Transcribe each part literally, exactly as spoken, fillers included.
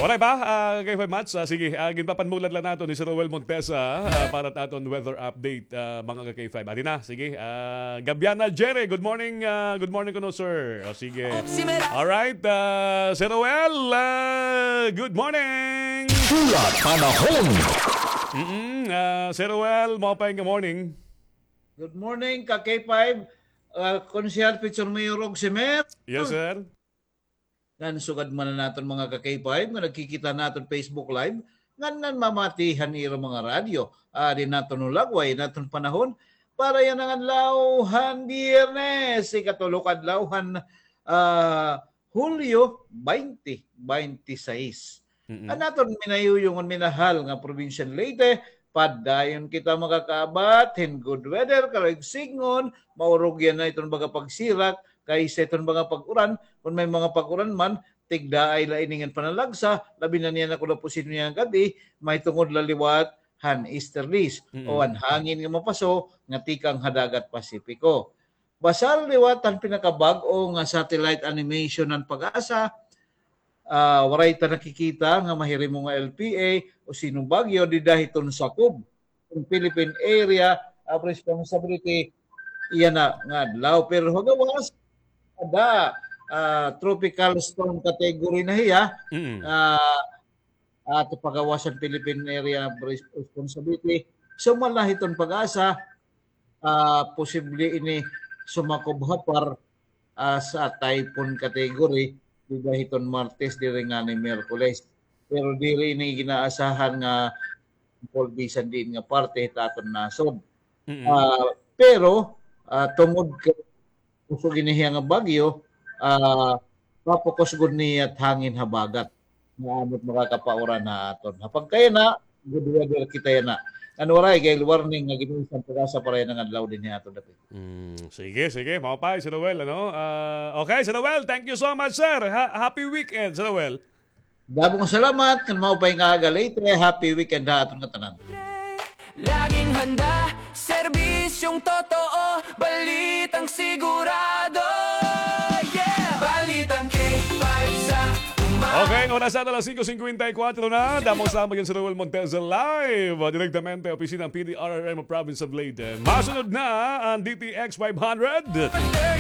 Pareho ba, ah, ka-K five Mats? Ah, sige, ah, ginpapanmulad la naton ni Sir Roel Montesa, ah, para ha aton weather update, ah, mga ka-K five. Adi na, sige. Ah, Gabiana Jerry, good morning, ah, good morning kuno, sir. O, sige. Alright, ah, Sir Roel, ah, good morning. Hulat panahon. Mm, ah, Sir Roel, maupay nga morning. Good morning, ka-K five. Ah, Konsehal Future Mayor Rog Semer. Yes, sir. Ngan sugad man an aton mga ka-K five nga nagkikita ha aton Facebook Live, ngan nanmamati han ira mga radyo. Adi an aton hulagway, an aton panahon, para yana nga adlaw han Biyernes, ikatulo ka adlaw han, ah, Hulyo twenty twenty-six. Mm-mm. An aton minayuyong ngan minahal nga probinsya han Leyte, padayon kita makakaabat hin good weather, karuyag sidngon, maurog yana iton baga pagsirak, kaysa iton mga pag-uran, kon may mga pag-uran man, tigdaay la ini ngan panalagsa, labi na niyan ako na po sino niyan gab-i, mahitungod la liwat han easterlies, Mm. o an hangin nga mapaso, nga tikang ha dagat Pasipiko. Basal liwat han pinakabag-o nga satellite animation han PAGASA, ah, waray ta nakikita nga mahirimo nga L P A o sino bagyo dida hiton sakob. An Philippine Area of Responsibility, iya na nga adlaw. Pero ha gawas, ada, ah, tropical storm category na hiya. Mm. Ah, ato pagawas an Philippine Area of Res-, Responsibility. Sumala hiton PAGASA, ah, posible ini sumakob ha par, ah, sa typhoon category, dida hiton Martes, diri ngani Miyerkules. Pero diri ini ginaasahan nga polbisan diin nga parte hit aton nasod. Mm. Ah, pero, ah, tungod kay kusog ini hiya nga bagyo, ah, papokus gud niya it hangin habagat. Nga amo it makakapauran ha aton. Ha pagkayana, good weather kita yana. Ngan waray gale warning nga gin-ilis an PAGASA para yana nga adlaw dinhi ha aton dapit. Mm, sige, sige. Maupay, Sir Roel, ano? Ah, okay, Sir Roel, thank you so much, sir. Ha-, happy weekend, Sir Roel. Damo nga salamat, ngan maupay nga aga, Leyte. Happy weekend ha aton ngatanan. Laging handa, serbisyong totoo, balitang sigurado. Yeah! Balitang K five sa umaga. Okay, an oras naton alas singko singkwenta y kuwatro na. Damo nga salamat, Sir Roel Montesa, live, ah, direktamente opisina han P D R R M Province of Leyte. Masunod na an D T X five hundred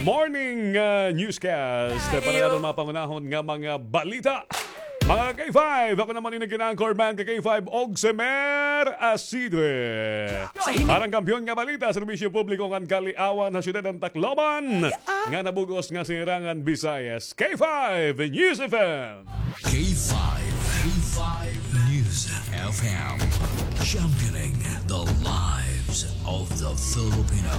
Morning, ah, Newscast. Para naton mga pangunahon nga mga balita. Mga ka-K five, ako naman ini nga anchorman ka-K five, Ogsemer Asidre. Para han Kampiyon nga Balita, serbisyo publiko ngan kaliawan ha siyudad han Tacloban, nga nabug-os nga sinirangan Visayas. K five News F M. K five, K five News F M. Championing the lives of the Filipino.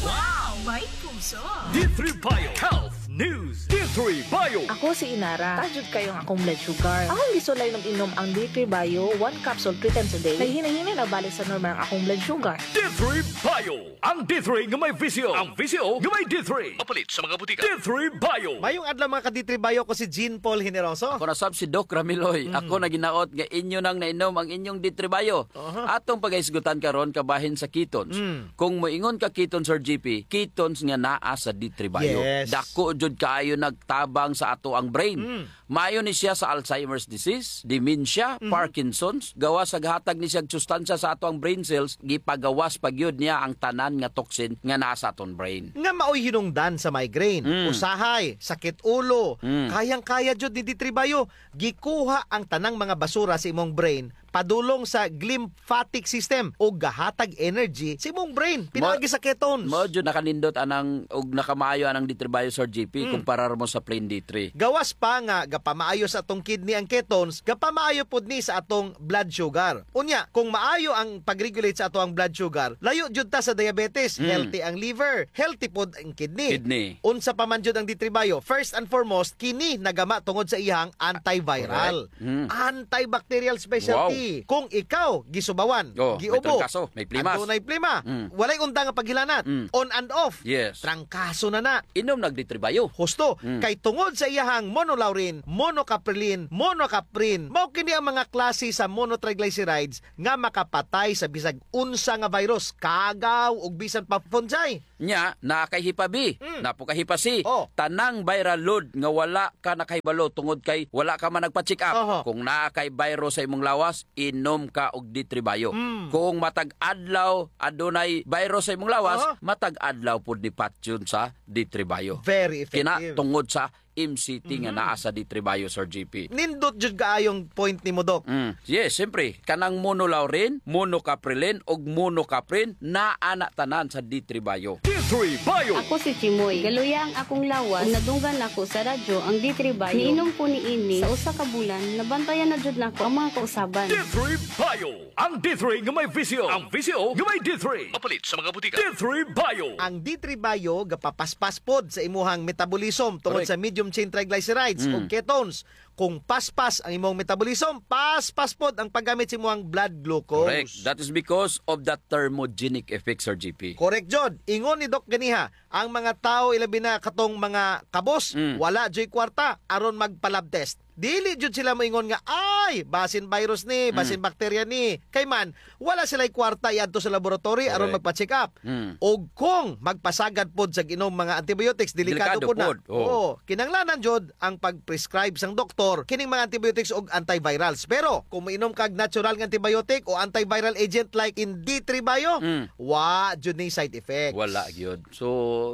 Wow! May puso! D three Bio Health News, D three Bio. Ako si Inara. Taas jud kaayo ang akong blood sugar. Akong gisulay inom-inom ang D three Bio, one capsule three times a day. Naghinay-hinay na balik sa normal ang akong blood sugar. D three Bio. Ang D three nga may visyo. Ang visyo nga may D three. Mapalit sa mga butika. D three Bio. Mayong adlaw, mga ka-D three Bio, ko si Jean Paul Generoso. Ako na sab si Doc Ramiloy. Mm. Ako na ginaot nga inyo nang nainom ang inyong D three Bio. Aha. Atong pagahisgutan karon kabahin sa ketones. Mm. Kung moingon ka ketones, Sir G P, ketones nga naa sa D three Bio. Yes. Dako jud kaayo nagtabang sa ato ang brain. Mm. Maayo ni siya sa Alzheimer's disease, dementia, Mhm. Parkinson's. Gawas sa gahatag ni siya sustansya sa ato ang brain cells, gipagawas pa gyud niya ang tanan nga toxin nga naa sa aton brain. Nga maoy hinungdan sa migraine, Mm. usahay, sakit ulo. Mm. Kayang-kaya jud ni D three Bio. Gikuha ang tanang mga basura sa imong brain padulong sa glymphatic system ug gahatag energy sa imong brain pinaagi sa ketones. Mao jud nakanindot anang ug nakamaayo anang D three Bio, Sir G P, Mm. kumparar mo sa plain D three. Gawas pa nga gapamaayo sa atong kidney ang ketones, gapamaayo pod ni sa atong blood sugar. Unya, kung maayo ang pag-regulate sa ato ang blood sugar, layo jud ta sa diabetes, Mm. healthy ang liver, healthy pod ang kidney. Kidney. Unsa pa man jud ang D three Bio, first and foremost, kini nagama tungod sa iyang antiviral. Correct. Mm. Antibacterial specialty. Kung ikaw gisubawan, oh, may giubo, trangkaso, may plimas, adunay plima, mm, walay unda nga paghilanat, mm, on and off, yes, trangkaso na na. Inom nag D three Bio. Husto. Mm. Kay tungod sa iyahang monolaurin, monocaprilin, monocaprin, mao kini ang mga klase sa monotriglycerides nga makapatay sa bisag unsa nga virus, kagaw, ug bisan pa fungi. Nya, naa kay hepa B, mm, naa pod kay hepa C. Oh. Tanang viral load nga wala ka nakahibalo tungod kay wala ka man nagpa-check up. Aha. Kung naa kay virus sa imong lawas, inom ka og D three Bio. Mm. Kung matag adlaw adunay virus sa imong lawas, aha, matag adlaw pod ni patyon sa D three Bio. Very effective. Kina tungod sa M C T nga, mhm, naa sa D three Bio, Sir G P. Nindot jud kaayong point nimo, Doc. Mm. Yes, siyempre, kanang monolaurin, monocaprilin, ug monocaprin, naa na tanan sa D three Bio. D three Bio. Ako si Chimoy. Galuya ang akong lawas. Ug nadunggan nako sa radyo ang D three Bio. Niinom ko niini sa usa ka bulan, nabantayan na jud nako ang mga kausaban. D three Bio. Ang D three nga may V C O. Ang V C O nga may D three. Mapalit sa mga butika. D three Bio. Ang D three Bio gapapaspas pod sa imuhang metabolism tungod, correct, sa medium chain triglycerides, mm, o ketones. Kung paspas ang imong metabolism, paspas pod ang paggamit sa imuhang blood glucose. Correct. That is because of the thermogenic effect, Sir G P. Correct jud. Ingon ni Doc ganiha, ang mga tawo, ilabi na katong mga kabos, mm, wala juy kwarta aron magpa-lab test. Dili jud sila moingon nga, "Ay, basin virus ni, basin, mm, bakterya ni." Kay man, wala sila'y kwarta iadto sa laboratory aron, correct, magpa-check up. Mm. Og kung magpasagad pod sa ginom mga antibiotics, delikado, delikado pod na, pod. Oo. Oo, kinahanglanan jud ang pag-prescribe sang doktor kining mga antibiotics og antivirals. Pero kung moinom kag natural nga antibiotic o antiviral agent like in D three Bio, mm, wa jud ni side effects. Wala gyud. So,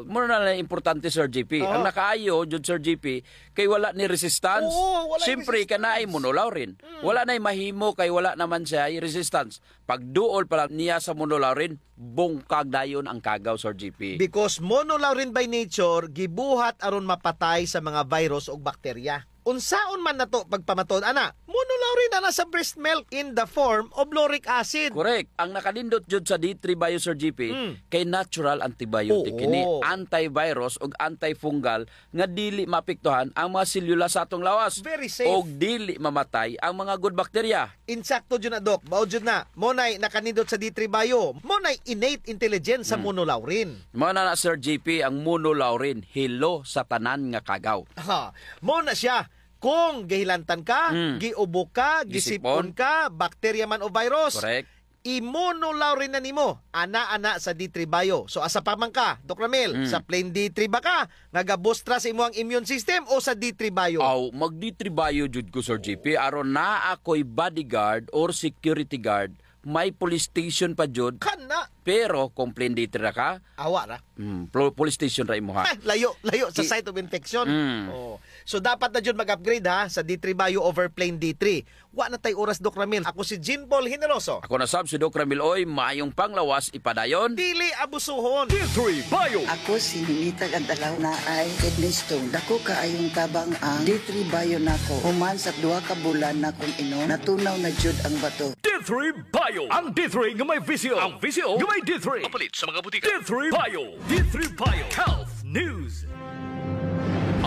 mura na lang importante, Sir G P. Oo. Ang nakaayo jud, Sir G P, kay wala ni resistance. Oo, wala ni resistance. Siyempre, kay naay monolaurin. Mm. Wala nay mahimo kay wala naman siya resistance. Pagduol pa lang niya sa monolaurin, bungkag dayon ang kagaw, Sir G P. Because monolaurin by nature, gibuhat aron mapatay sa mga virus ug bakterya. Unsaon man nato pagpamatud ana? Monolaurin ana sa breast milk in the form of lauric acid. Correct. Ang nakanindot jud sa D three Bio, Sir G P, mm, kay natural antibiotic, oo, kini, antivirus ug antifungal nga dili maapektuhan ang mga selula sa atong lawas. Very safe. Ug dili mamatay ang mga good bacteria. Insakto jud na, Doc. Mao jud na. Mao nay nakanindot sa D three Bio. Mao nay innate intelligence sa, hmm, monolaurin. Mao na na, Sir G P, ang monolaurin, hilo sa tanan nga kagaw. Ha, mao na siya. Kung gihilantan ka, hmm, giubo ka, gisip-on, gisip-on ka, bakterya man o virus, correct, i-monolaurin na nimo. Ana, ana sa D three Bio. So, asa pa man ka, Doc Ramil? Hmm. Sa plain D three ba ka? Nga gabustra sa imo ang immune system o sa D three Bio? Aw, mag D three Bio jud ko, Sir G P. Aron naa ako'y bodyguard or security guard, may police station pa jud. Kana. Pero kung plain D three ra ka, awa ra. Hmm, plo-, police station ra imuha. Ay, layo, layo sa site of infection. Hmm. Oh. So, dapat na jud mag-upgrade, ha, sa D three Bio over plain D three. Wa na tay oras, Doc Ramil. Ako si Jean Paul Generoso. Ako na sab si Doc Ramil Oy. Maayong panglawas, ipadayon. Dili abusuhon. D three Bio. Ako si Ninita Gantalaw, naay kidney stone. Dako kaayong tabang ang D three Bio nako. Human sa duha ka bulan nakong inom, natunaw na jud ang bato. D three Bio. Ang D three nga may V C O. Ang V C O nga may D three. Mapalit sa mga butika. D three Bio. D three Bio. Health News.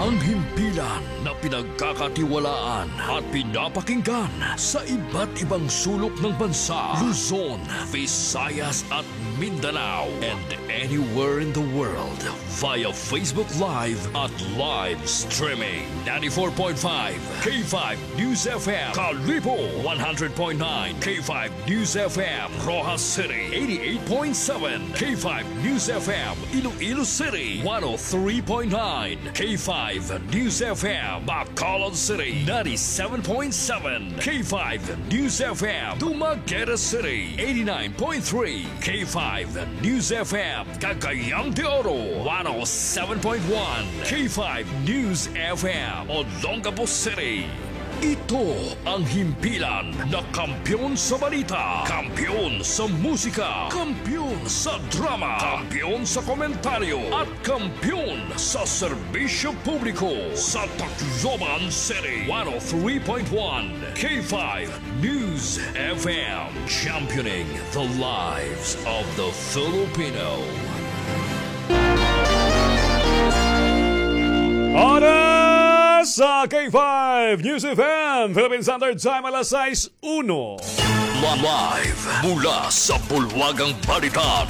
Ang himpilan na pinagkakatiwalaan at pinapakinggan sa iba't ibang sulok ng bansa, Luzon, Visayas at Mindanao, and anywhere in the world via Facebook Live at live streaming. Ninety-four point five K five News F M, Kalibo, one hundred point nine K five News F M, Roxas City, eighty-eight point seven K five News F M, Iloilo City, one oh three point nine K five News F M, Bacolod City, ninety-seven point seven K five News F M, Dumaguete City, eighty-nine point three K five News F M, Cagayan de Oro, one oh seven point one K five News F M, Olongapo City. Ito ang himpilan na kampiyon sa balita, kampiyon sa musika, kampiyon sa drama, kampiyon sa komentaryo, at kampiyon sa serbisyo publiko sa Tacloban City. One oh three point one K five News F M, championing the lives of the Filipino. Oras Sa K five News F M, Philippine Standard Time, alas sais uno. Live mula sa Bulwagang Balita,